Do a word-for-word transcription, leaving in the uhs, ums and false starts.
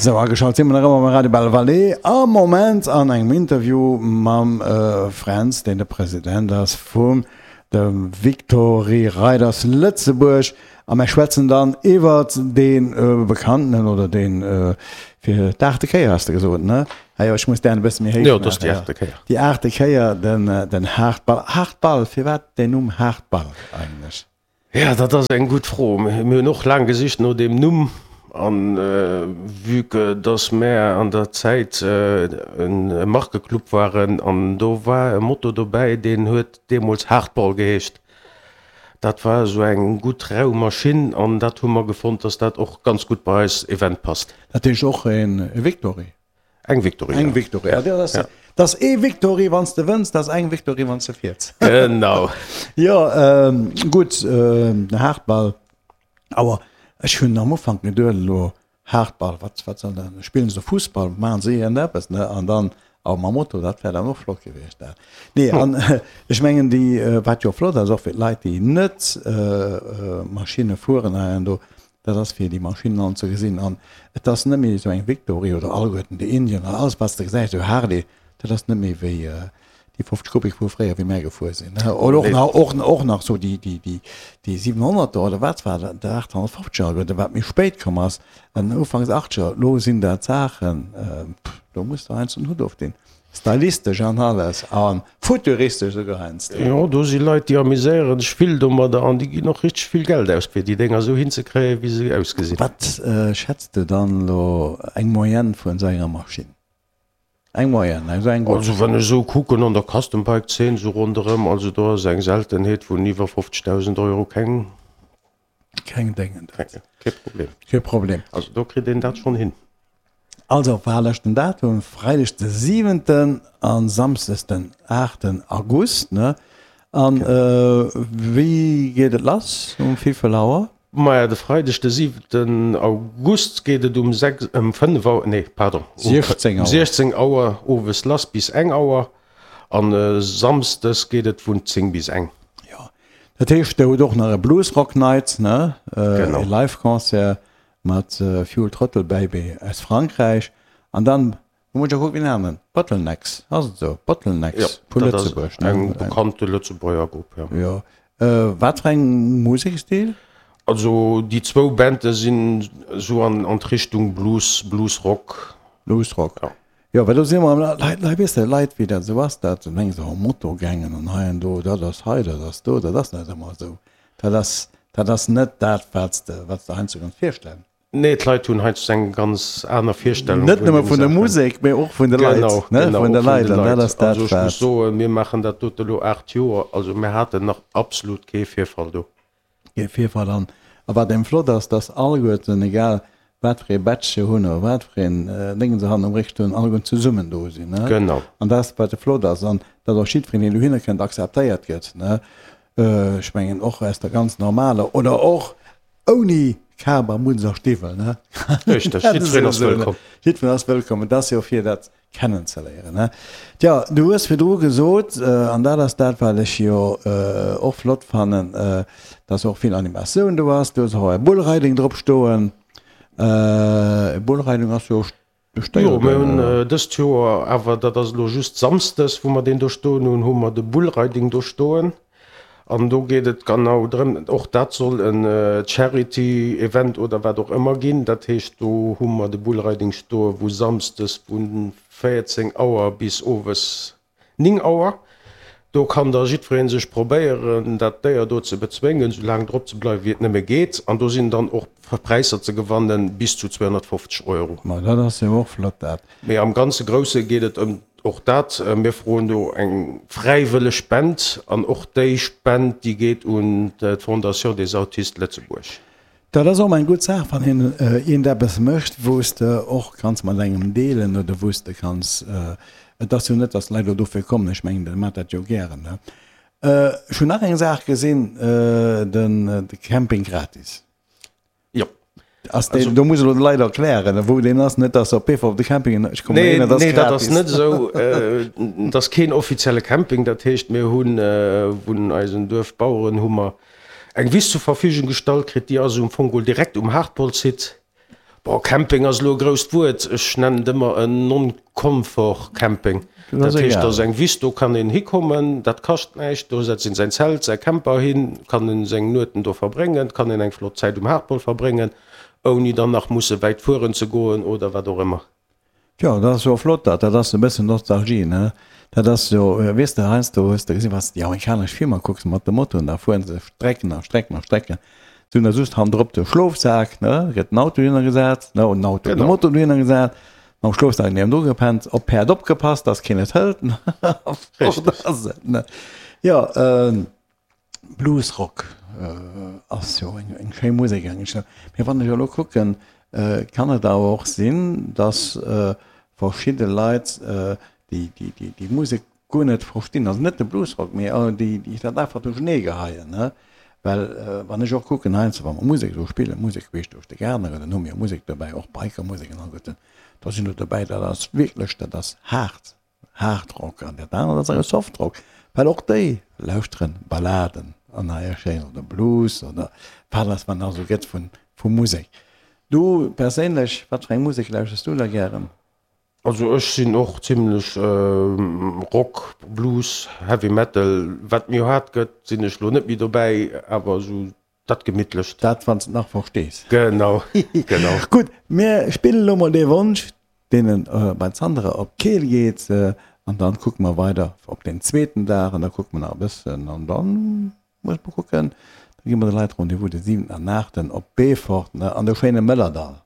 Sou, ageschalt si mer nach ëmmer beim Radio Belle Vallée, am Moment an engem Interview mam Fränz, deen de President ass vum de Victory Riders Lëtzebuerg. A mer schwätzen dann iwwert dee bekannten oder dee fir d'aachte Kéier, has de gesot, ne? Ah jo, ech muss dären e bësse méi héich maachen. Jo, dat ass déi aachte Kéier. Déi aachte Kéier, den, den Haardball. Haardball, firwat deen Numm Haardball eigentlech? Jo, dat ass eng gutt Fro. Mir hunn och laang gesicht no deem Numm. An vue que dass mär an der Zäit e Markeclub waren an do war e Moto dobäi, deen huet deemools Hardball geheescht. Dat war esou eng gutt rau Maschinn an dat hu mer gefonnt, dass dat och ganz gutt bei eis Event passt. Dat heescht och e Victory? Eng Victory, Eng Victory, ja. Dat ass, dat ass ee Victory, wann s de wënns, dat ass eng Victory, wann s de fiers. Genau. Jo, gutt, den Hardball. Awer ech hunn am Ufank geduet, elo Hardball, wat, wat soll dat, spillen se do Fussball, maachen se iergendeppes, ne? An dann, awer mam Moto, dat wär dann och flott gewiescht, dat. Nee, an ech mengen déi, wat jo flott ass, och fir d'Leit, déi net Maschinne fueren hei an do, Dat ass fir déi Maschinnen all ze gesinn. An et ass net méi esou eng Victory oder alleguerten déi Indian an alles wat s de gesäis, esou Harley, dat ass net méi wéi déi fofzeg Kubik vu fréier wéi mär gefuer sinn. Oder och nach, och, och nach esou déi, déi, déi, déi siwenhonnerter oder wat war dat, der aathonnertfofzeger alleguerten, wat méi spéit komm ass, an ufanks Achtzeger. Elo sinn dat Saachen, do muss de heiansdo den Hutt ofdinn. Stylistesch an alles a futuristesch esouguer heiansdo. Jo, do si Leit, déi amuséieren sech vill domadder an déi ginn och richteg vill Geld aus, fir déi Dénger esou hinzekréien, wéi se ausgesinn. Wat schätz de dann elo eng Moyenne vun esou enger Maschinn? Eng Moyenne, esou eng gutt? Also wann ech esou kucken an der Custom Bike Zeen esou ronderëm, also do ass eng Seltenheet vun iwwer fofzegdausend Euro keng. Keng Déngen. Kee Problem. Kee Problem. Also do kritt een dat schonn hin. Also war leschten Datum, Freideg de siwenten an Samsdes den aachten August, ne? An wéi geet et lass, um wéivill Auer? Maja, de Freideg de siwenten August geet et um sechs, ëm fënnef Auer, nee, pardon, um siechzéng Auer owes lass bis eng Auer an Samsdes geet et vun zéng bis eng. Jo, dat heescht, der hutt och nach e Blues Rock Night, ne? Genau. E Live-Concert mat Fuel Throttle Baby aus Frankräich an dann, lo muss ech och kucken, wéi den Namen, Bottlenecks, ass et esou? Bottlenecks vu Lëtzebuerg, ne? Eng bekannte Lëtzebuerger Grupp, jo. Jo. Wat fir eng Musekstil? Also déi zwou Bande sinn esou an an d'Richtung Blues, Blues-Rock. Blues-Rock. Ja. Jo, well do si mer, Leit, Leit, weess de, Leit, wéi dat esou ass, dat mengen se, oh Motogangen an hei an do, dat ass hei, dat ass do, dat ass net ëmmer esou. Dat ass, dat ass net dat, wat s de, wat s de heiansdo kanns virstellen. Nee, d'Leit hunn heiansdo eng ganz aner Virstellung Net nëmme vun der Musek, mee och vun de Leit, Genau, ne, genau, vun de och vun Leit. de An dat Leit. ass dat, Also ech muss wat. soen, mir maachen dat dote elo aacht Joer, also mir haten nach absolut kee Virfall do. Kee Virfall. An a wat eben flott ass, dass alleguerten, egal wat fir ee Badge se hunn oder wat fir een Déngen se hannen um Réck hunn, alleguerten zesummen do sinn, ne. Genau. An dat ass, wat flott ass. An dass och jiddwereen, deen dohinner kënnt, akzeptéiert gëtt, ne. Ech mengen och aus der ganz normaler oder och ouni Kap a Mutz a Stiwwel, ne? Richteg, jiddwereen ass wëllkomm. Jiddwereen ass wëllkomm. Et ass jo fir dat kennenzeléieren, ne? Tja, du hues virdru gesot, an dat ass dat, wat ech jo och flott fannen, dass och vill Animatioun do ass. Du hues och e Bullriding drop stoen. E Bullriding ass jo Jo, mir hunn dëst Joer awer, dat ass elo just samsdes, wou mer deen do stoen hunn, hu mer de Bullriding do stoen. An do geet et genau drëm, och dat soll en Charity Event oder wat och ëmmer ginn. Dat heescht, do hu mer de Bullriding stoe wou samsdes vu véierzéng Auer bis owes Ning Auer. Do kann da jiddweree sech probéieren, dat Déier do ze bezwéngen, sou laang drop ze bleiwen, wéi et nëmme geet. An do sinn dann och Präisser ze gewannen, bis zu zweehonnertfofzeg Euro. Ma dat ass jo och flott, dat. Mee am ganze Grousse geet et ëm och dat. Mir froen do eng fräiwëlleg Spend an och déi Spend, déi geet un d'Fondation des Autistes Lëtzebuerg. Dat ass och eng gutt Saach, wann een iergendeppes mécht, wou s de och kanns mat engem deelen oder wou s de kanns, et ass jo net, datt d'Leit elo dofir kommen, ech mengen, déi maachen dat jo gären, ne? Ech hunn nach eng Saach gesinn, den Camping gratis. Jo. Ass deen, do muss elo de Leit erklären, wou deen ass, net datt se op Beefort op de Camping, ech kommen Nee, dohin, et ass nee, dat ass gratis. net esou. Et ass keen offizielle Camping, dat heescht, mir hunn vun eisen Duerfbaueren hu mer eng Wiss zur Verfügung gestallt kritt, déi ass um Fong geholl direkt um Hardball-Site. Bon, Camping ass elo e grousst Wuert. Ech nennen et ëmmer en Non-Confort Camping. Dat heescht, do ass eng Wiss, do kann een hikommen, dat kascht näischt, do setzt een säin Zelt, säi Camper hin, kann en seng Nueten do verbréngen, kann een eng flott Zäit um Haardball verbréngen, ouni dann nach musse wäit fueren ze goen oder wat och ëmmer. Jo, dat ass jo flott, dat. Dat ass e bëssen Nostalgie, ne? Dat ass jo, weess de, heiansdo hues de gesinn, wann s de déi amerikanesch Filmer kucks mat de Motoen, da fueren se Strecken a Strecken a Strecken. Se hunn da just hannendrop de Schlofsak, ne? Da gëtt den Auto dohinner gesat, ne? Oder den Auto, de Moto dohinner gesat, mam Schlofsak niewendru gepennt, op d'Päerd opgepasst, dass keen et hëlt, ne? Fort ass et, ne? Jo, Bluesrock ass jo eng schéi Musek eigentlech. Mee wann ech elo kucken, kann et awer och sinn, dass verschidde Leit déi Musek guer net verstinn, also net de Bluesrock, mee déi dat einfach duerchenee geheien. Well wann ech och kucken heiansdo, wa mer Musek esou spillen, Musek queesch duerch de Gaart, dann hu mir Musek dobäi, och Bikermusek an all Goeten, da sinn der dobäi, dat ass wierklech, dat ass haart. Hardrock an dat anert ass awer Softrock, well och déi lauschteren Balladen an hei schéin oder Blues oder wat ass wat nach esou gëtt vun vu Musek. Du perséinlech, wat fir eng Musek lauschters du da gären? Also ech sinn och zimlech Rock, Blues, Heavy Metal, wat méi haart gëtt sinn ech lo net méi dobäi, awer esou dat gemittlecht. Dat wann s de et nach verstees. Genau, genau. Gutt, mir spillen elo mol dee Wonsch, deenen bei d'Sandra op d'Keel geet an dann kucke mer weider op den zweeten Dag an da kucke mer nach e bëssen an dann muss mer kucken, da gi mer de Leit Rendez-vous de siwenten an aachten op Beefort an de schéine Mëllerdall.